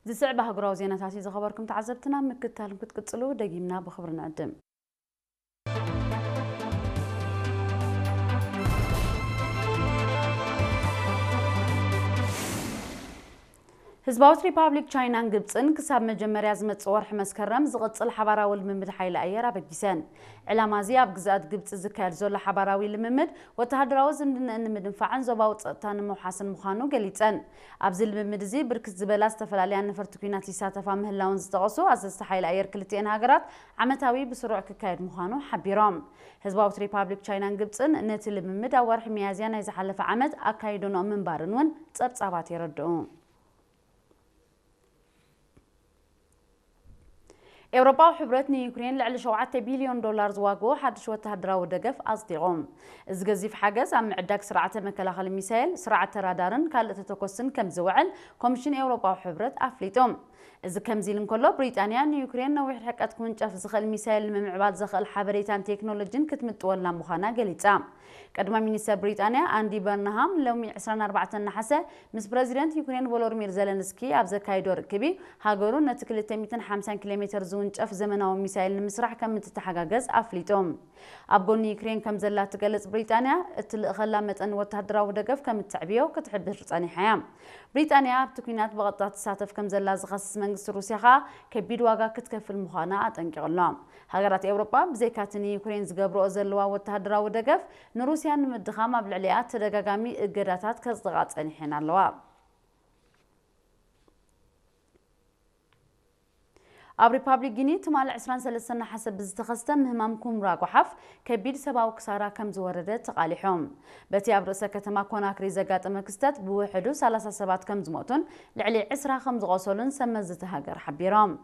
ዝስዕብ ኣህጉራዊ ዜናታት እዩ ዝኸበርኩም ተዓዘብትና፣ ምክትታል ክትቅጽሉ ደጊምና ብኽብሪ ንዕድም። ህዝባዊት ሪፓብሊክ ቻይናን ግብጽን ክሳብ መጀመርያ ዝመጽእ ወርሒ መስከረም ዝቕጽል ሓባራዊ ልምምድ ሓይሊ ኣየር ኣበጊሰን። ዕላማ እዚ ኣብ ግዝኣት ግብጺ ዝካየድ ዘሎ ሓባራዊ ልምምድ ወተሃደራዊ ዝምድናኣን ንምድንፋዕን ዞባዊ ጸጥታ ንምውሓስን ምዃኑ ገሊጸን። ኣብዚ ልምምድ እዚ ብርክት ዝበላ ዝተፈላለያ ነፈርቲ ኲናት ይሳተፋ ምህላውን ዝጠቐሱ ኣዘዝቲ ሓይሊ ኣየር ክልቲኤን ሃገራት ዓመታዊ ብስሩዕ ክካየድ ምዃኑ ሓቢሮም። ህዝባዊት ሪፓብሊክ ቻይናን ግብጽን ነቲ ልምምድ ኣብ ወርሒ ሚያዝያ ናይ ዝሓለፈ ዓመት ኣካይዶንኦ ምንባርን እውን ጸብጻባት የረድኡ። ኤውሮጳዊ ሕብረት ንዩክሬን ልዕሊ ሸውዓተ ቢልዮን ዶላር ዝዋግኡ ሓድሽ ወተሃደራዊ ደገፍ ኣጽዲቑ። እዚ ገዚፍ ሓገዝ ኣብ ምዕዳግ ስርዓተ መከላኸሊ ሚሳይል፣ ስርዓተ ራዳርን ካልእ ተተኮስን ከም ዝውዕል ኮሚሽን ኤውሮጳዊ ሕብረት ኣፍሊጡ። እዚ ከምዚ ኢሉ እንከሎ፣ ብሪጣንያ ንዩክሬን ነዊሕ ርሕቀት ክውንጨፍ ዝኽእል ሚሳይል ንምምዕባል ዘኽእል ሓበሬታን ቴክኖሎጂን ክትምጥወላ ምዃና ገሊጻ። ቀዳማይ ሚኒስተር ብሪጣንያ ኣንዲ በርንሃም ሎሚ ዕስራን ኣርባዕተን ነሓሰ ምስ ፕረዚደንት ዩክሬን ቮሎድሚር ዘለንስኪ ኣብ ዘካይዶ ርክቢ፣ ሃገሩ ነቲ ክልተ ሚእትን ሓምሳን ኪሎ ሜተር ዝውንጨፍ ዘመናዊ ሚሳይል ንምስራሕ ከም እትተሓጋገዝ ኣፍሊጡ። ኣብ ጎኒ ዩክሬን ከም ዘላ እትገልጽ ብሪጣንያ፣ እትልእኸላ መጠን ወተሃደራዊ ደገፍ ከም እተዕብዮ ክትሕብር ጸኒሓ እያ። ብሪጣንያ ኣብቲ ኲናት ብቐጥታ ትሳተፍ ከም ዘላ ዝኸስስ መንግስቲ ሩስያ ከኣ ከቢድ ዋጋ ክትከፍል ምዃና ኣጠንቂቑ ኣሎ። ሃገራት ኤውሮጳ ብዘይካ'ቲ ንዩክሬን ዝገብርኦ ዘለዋ ወተሃደራዊ ደገፍ፣ ንሩስያ ንምድኻም ኣብ ልዕሊኣ ተደጋጋሚ እገዳታት ከጽድቓ ጸኒሐን ኣለዋ። ኣብ ሪፓብሊክ ጊኒ ትማሊ ዕስራን ሰለስተን ነሓሰ ብዝተኸስተ ምህማም ኩምራ ጓሓፍ ከቢድ ሰብኣዊ ክሳራ ከም ዝወረደ ተቓሊሑ። በቲ ኣብ ርእሰ ከተማ ኮናክሪ ዘጋጠመ ክስተት ብውሕዱ ሰላሳ ሰባት ከም ዝሞቱን ልዕሊ ዕስራ ከም ዝቖሰሉን ሰብ መዚ እቲ ሃገር ሓቢሮም።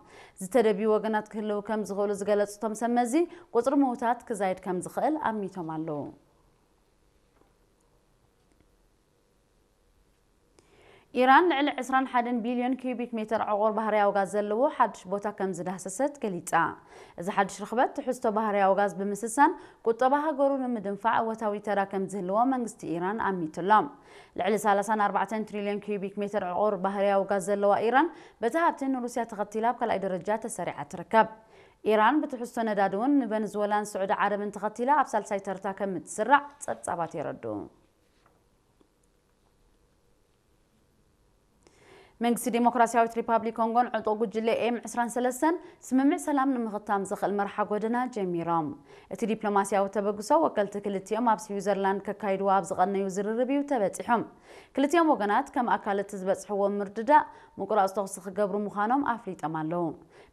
ዝተደብዩ ወገናት ክህልው ከም ዝኽእሉ ዝገለጹ እቶም ሰብ መዚ፣ ቁጽሪ ምውታት ክዛይድ ከም ዝኽእል ኣሚቶም ኣለዉ። ኢራን ልዕሊ ዕስራን ሓደን ቢልዮን ኪዩቢክ ሜተር ዕቑር ባህርያዊ ጋዝ ዘለዎ ሓድሽ ቦታ ከም ዝዳህሰሰት ገሊጻ። እዚ ሓድሽ ርኽበት ትሕዝቶ ባህርያዊ ጋዝ ብምስሳን ቁጠባ ሃገሩ ንምድንፋዕ እወታዊ ተራ ከም ዝህልዎ መንግስቲ ኢራን ኣሚቱ ኣሎ። ልዕሊ ሰላሳን ኣርባዕተን ትሪልዮን ኪዩቢክ ሜተር ዕቑር ባህርያዊ ጋዝ ዘለዋ ኢራን በቲ ሃብቲ ንሩስያ ተኸቲላ ኣብ ካልኣይ ደረጃ ተሰሪዓ ትርከብ። ኢራን ብትሕዝቶ ነዳዲ እውን ንቨንዙወላን ስዑዲ ዓረብን ተኸቲላ ኣብ ሳልሳይ ተርታ ከም እትስራዕ ጸብጻባት የረድኡ። መንግስቲ ዴሞክራሲያዊት ሪፓብሊክ ኮንጎን ዕጡቕ ጉጅለ ኤም ዕስራን ሰለስተን ስምምዕ ሰላም ንምኽታም ዘኽእል መርሓ ጎደና ጀሚሮም። እቲ ዲፕሎማሲያዊ ተበግሶ ወከልቲ ክልቲኦም ኣብ ስዊዘርላንድ ከካይድዎ ኣብ ዝቐነዩ ዝርርብ እዩ ተበጺሑ። ክልቲኦም ወገናት ከም ኣካል እቲ ዝበጽሕዎ ምርድዳእ ምቁራጽ ተኹሲ ክገብሩ ምዃኖም ኣፍሊጦም ኣለዉ።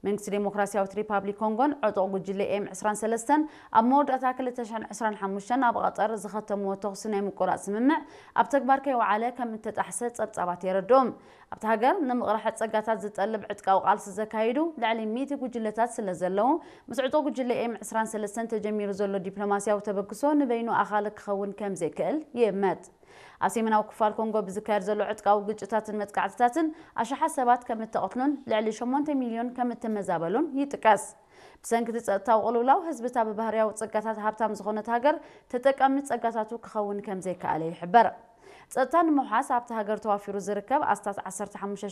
መንግስቲ ዴሞክራሲያዊት ሪፓብሊክ ኮንጎን ዕጡቕ ጉጅለ ኤም ዕስራን ሰለስተን ኣብ መወዳእታ ክልተ ሽሕን ዕስራን ሓሙሽተን ኣብ ቐጠር ዝኸተምዎ ተኹሲ ናይ ምቁራጽ ስምምዕ ኣብ ተግባር ከይወዓለ ከም እተጣሕሰ ጸብጻባት የረድኡ። ኣብታ ሃገር ንምቕራሕ ጸጋታት ዝጠልብ ዕጥቃዊ ቃልሲ ዘካይዱ ልዕሊ ሚእቲ ጉጅለታት ስለ ዘለዉ፣ ምስ ዕጡቕ ጉጅለ ኤም ዕስራን ሰለስተን ተጀሚሩ ዘሎ ዲፕሎማሲያዊ ተበግሶ ንበይኑ ኣኻሊ ክኸውን ከም ዘይክእል ይእመት። ኣብ ሰሜናዊ ክፋል ኮንጎ ብዝካየድ ዘሎ ዕጥቃዊ ግጭታትን መጥቃዕትታትን ኣሽሓት ሰባት ከም እተቐትሉን ልዕሊ ሸሞንተ ሚልዮን ከም እተመዛበሉን ይጥቀስ። ብሰንኪ እቲ ጸጥታዊ ቅልውላው፣ ህዝቢ እታ ብባህርያዊ ጸጋታት ሃብታም ዝኾነት ሃገር ተጠቃሚ ጸጋታቱ ክኸውን ከም ዘይከኣለ ይሕበር። ጸጥታ ንምውሓስ ኣብታ ሃገር ተዋፊሩ ዝርከብ ኣስታት ዓሰርተ ሓሙሽተ